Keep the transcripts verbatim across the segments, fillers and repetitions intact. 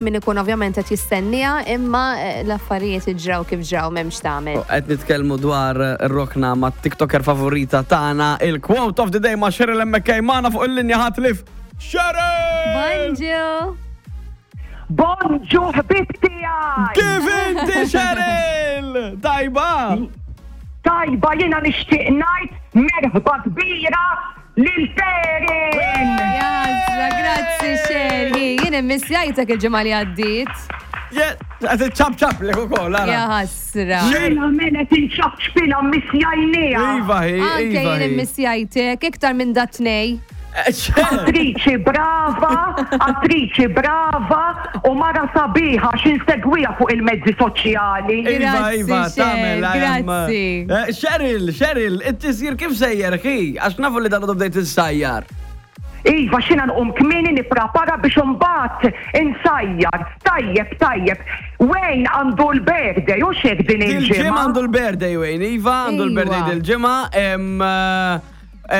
Min ikun ovvjament qed jistenniha, imma eh, l-affarijiet ġraw kif ġraw, m'hemmx tagħmel. Qed nitkellmu dwar ir-rokna ma' TikToker favorita tagħna, il-quote of the day ma' Cheryl M K magħna fuq il-linja ħatlif. Cheryl! Bonġu! Bonġu, ħbib tiegħi! Kif inti, Cheryl? Tajba? Tajba, jiena nixtieq ngħid merħba kbira lil Ferin! Jasra, grazzi Sherry. Jien immissjajtek il-ġimgħa li għaddiet. Qed ċap ċap li ukoll, ara. Ja ħasra. Mela mela tinċapċpilha, missjajnieha. Iva, hi, Anke iva. jien hi. immissjajtek iktar minn dat-tnej. Eh, Cheryl! Attriċi brava, attriċi brava u mara sabiħa x'insegwiha fuq il-mezzi soċjali. Iva, Grazzi, Iva, Cher, tagħmel, I am, grazzi. eh, Cheryl, Cheryl, it-tisjir kif sejjer, hi? Għax nafu li dan bdejt issajjar. Iva, xina nqum kmieni nipprepara biex imbagħad insajjar. Tajjeb, tajjeb. Wayne għandu l-birthday, u xek din Dil-ġimgħa il-ġimgħa? għandu l-birthday, Wayne, iva, għandu l-birthday Iva. dil-ġimgħa. em, eh,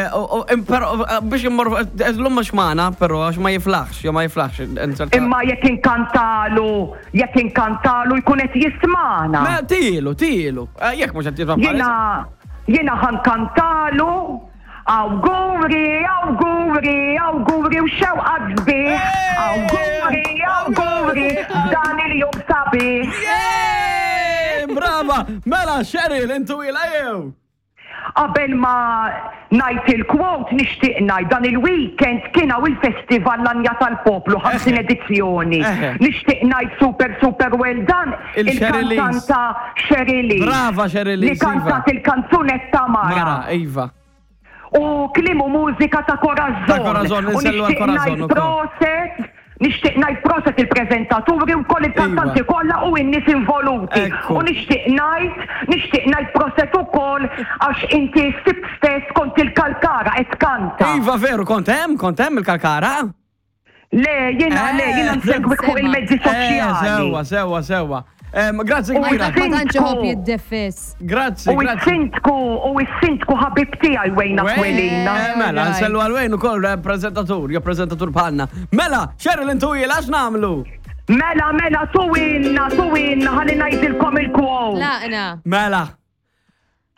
eh, u- u- em, Però eh, biex immor, l-lum mhux magħna, però għax ma jiflaħx, jew ma jiflaħx. inserta- Imma jekk inkantalu, jekk inkantalu jkun qed jismana. Ma tilu, tilu. Eh, Jekk mhux qed jisma' Jiena jiena ħa nkantalu: awguri, awguri, awguri u xewqa sbieħ. Awguri, awguri, f'dan il-jum sabiħ. Yeah! Brava! Mela, Cheryl, intu ila jew? Qabel ma ngħid il-quote, nixtieq ngħid dan il-weekend kien hawn il-Festival L-Għanja tal-Poplu, ħamsin edizzjoni. Eħe. Nixtieq ngħid super super well done Il-Cheryl il-kantanta Cheryl Brava, Cheryl li kantat il-kanzunetta Mara, "Mara". iva. U kliem u mużika ta' Corazon. Ta' Corazon, U insellu għal nixtieq Corazon ngħid ukoll. proset, nixtieq ngħid proset il-preżentaturi u koll il-kantanti Iva. kollha u n-nies involuti. Ekku. U nixtieq ngħid, nixtieq ngħid proset ukoll għax inti s-Sibt stess kont il-Kalkara qed kanta. Iva, veru, kont hemm, kont hemm il-Kalkara? Le, jiena le, jiena Eh, nsegwik fuq sema. il-mezzi Eh, soċjali. Sewa, sewa, sewa. Em, Grazzi U kbira. Ma tantx iħobb Sindku. jiddefis. Grazzi, U grazzi. s-sindku, u s-sindku ħabib tiegħi Wayne Aquilina. Eh, mela, Alright. nsellu għal Wayne ukoll eh, prezentatur, jew prezentatur bħalna. Mela, Cheryl, intu għax nagħmlu? Mela, mela, tuwinna, tuwinna, ħalli ngħidilkom il-quote. Laqna. Mela.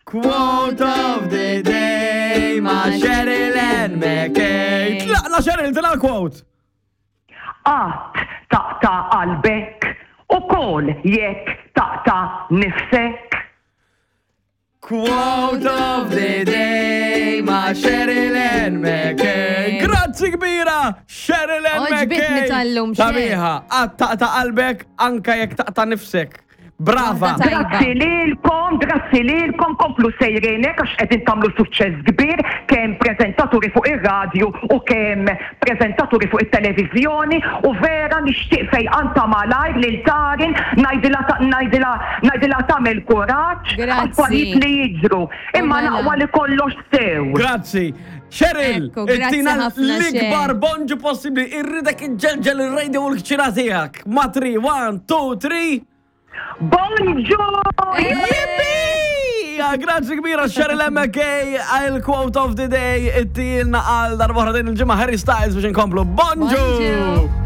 Quote of the day ma' Cheryl Ann McKay. Tlaqna, Cheryl, tina l-quote. Qatt taqta' qalbek ukoll jekk taqta' nifsek. Quote of the day ma' Cheryl Ann McKay. Grazzi kbira, Cheryl Ann Oġbitni McKay. tal-lum, Cher. Sabiħa, qatt taqta' qalbek anka jekk taqta' nifsek. Brava. Waħda tajba. Grazzi lilkom, grazzi lilkom, komplu sejrinek għax qegħdin tagħmlu suċċess kbir kemm preżentaturi fuq ir-radju u kemm preżentaturi fuq it-televiżjoni, u vera nixtieq fejqan ta' malajr lil Tarin, ngħidilha ta- ngħidilha ngħidilha tagħmel kuraġġ Grazzi. affarijiet li jiġru. Imma mela. naqwa li kollox sew. Grazzi. Cheryl, Ekku, grazzi ittina ħafna, l-ikbar Cher. bonġu possibli. Irridek iġġelġel il-radio u l-kċina tiegħek. Ma three, one, two, three. Bonġu! Yippee! Grazzi kbira, Cheryl M K, il-quote of the day, ittilna għal darba din il-ġimgħa Harry Styles biex inkomplu. Bonġu! Bonġu!